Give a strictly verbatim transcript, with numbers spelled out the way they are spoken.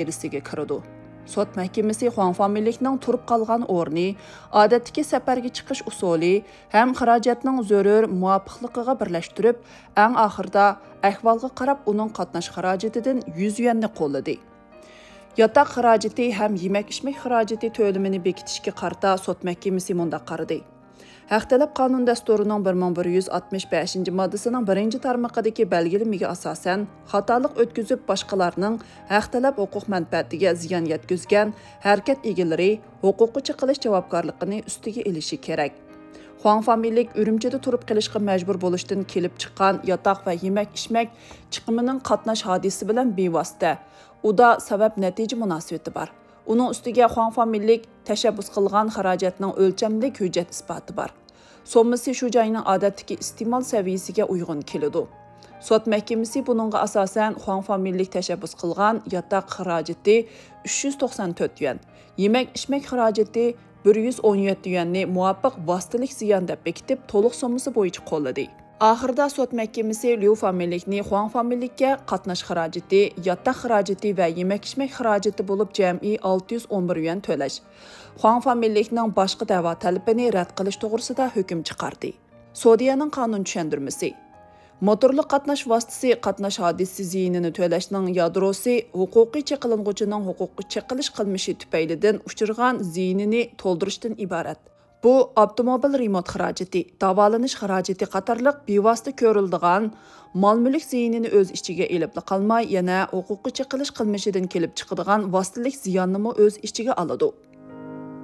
دائىرىسىگە كىرىدۇ. سوت مەھكىمىسى خۇاڭ فامىلىلىكنىڭ تۇرۇپ قالغان ئورنى، ئادەتتىكى سەپەرگە چىقىش ئۇسۇلى ھەم خىراجەتنىڭ زۆرۈر مۇۋاپىقلىقىغا بىرلەشتۈرۈپ، ئەڭ ئاخىرىدا ئەھۋالغا قاراپ ئۇنىڭ قاتناش خىراجىتىدىن يۈز يۈەننى قوللىدى. ياتاق خىراجىتى ھەم يېمەك-ئىچمەك خىراجىتى تۆلىمىنى بېكىتىشكە قارىتا سوت مەھكىمىسى مۇنداق قارىدى: ھەق تەلەپ قانۇن دەستۇرىنىڭ بىر مىڭ بىر يۈز ئاتمىش بەشىنچى ماددىسىنىڭ بىرىنچى تارمىقىدىكى بەلگىلىمىگە ئاساسەن، خاتالىق ئۆتكۈزۈپ، باشقىلارنىڭ ھەق تەلەپ ھوقۇق مەنپەئەتىگە زىيان يەتكۈزگەن ھەرىكەت ئىگىلىرى ھوقۇققا چېقىلىش جاۋابكارلىقىنى ئۈستىگە ئېلىشى كېرەك. خۇاڭ فامىلىلىك ئۈرۈمچىدە تۇرۇپ قېلىشقا مەجبۇر بولۇشتىن كېلىپ چىققان ياتاق ۋە يېمەك-ئىچمەك چىقىمىنىڭ قاتناش ھادىسىسى بىلەن بىۋاسىتە ئۇدا سەۋەب-نەتىجە مۇناسىۋىتى بار. ئۇنىڭ ئۈستىگە خۇاڭ فامىلىلىك تەشەببۇس قىلغان خىراجەتنىڭ ئۆلچەملىك ھۆججەت ئىسپاتى بار. سوممىسى شۇ جاينىڭ ئادەتتىكى ئىستېمال سەۋىيەسىگە ئۇيغۇن كېلىدۇ. سوت مەھكىمىسى بۇنىڭغا ئاساسەن خۇاڭ فامىلىلىك تەشەببۇس قىلغان ياتاق خىراجىتى ئۈچ يۈز توقسان تۆت يۈەن، يېمەك-ئىچمەك خىراجىتى بىر يۈز ئون يەتتە يۈەننى مۇۋاپىق ۋاسىتىلىك زىيان دەپ بېكىتىپ، تولۇق سوممىسى بويىچە قوللىدى. ئاخىرىدا سوت مەھكىمىسى ليۇ فامىلىلىكنى خۇاڭ فامىلىلىككە قاتناش خىراجىتى، ياتاق خىراجىتى ۋە يېمەك-ئىچمەك خىراجىتى بولۇپ جەمئىي ئالتە يۈز ئون بىر يۈەن تۆلەش، خۇاڭ فامىلىلىكنىڭ باشقا دەۋا تەلىپىنى رەت قىلىش توغرىسىدا ھۆكۈم چىقاردى. سودىيەنىڭ قانۇن چۈشەندۈرمىسى. موتورلۇق قاتناش ۋاسىتىسى قاتناش ھادىسىسى زىيىنىنى تۆلەشنىڭ يادروسى ھوقۇقىي چېقىلغۇچىنىڭ ھوقۇققا چېقىلىش قىلمىشى تۈپەيلىدىن ئۇچرىغان زىيىنىنى تولدۇرۇشتىن ئىبارەت. بۇ ئاپتوموبىل رېمونت خىراجىتى، داۋالىنىش خىراجىتى قاتارلىق بىۋاسىتە كۆرۈلىدىغان مال-مۈلۈك زىيىنىنى ئۆز ئىچىگە ئېلىپلا قالماي، يەنە ھوقۇققا چېقىلىش قىلمىشىدىن كېلىپ چىقىدىغان ۋاسىتىلىك زىياننىمۇ ئۆز ئىچىگە ئالىدۇ.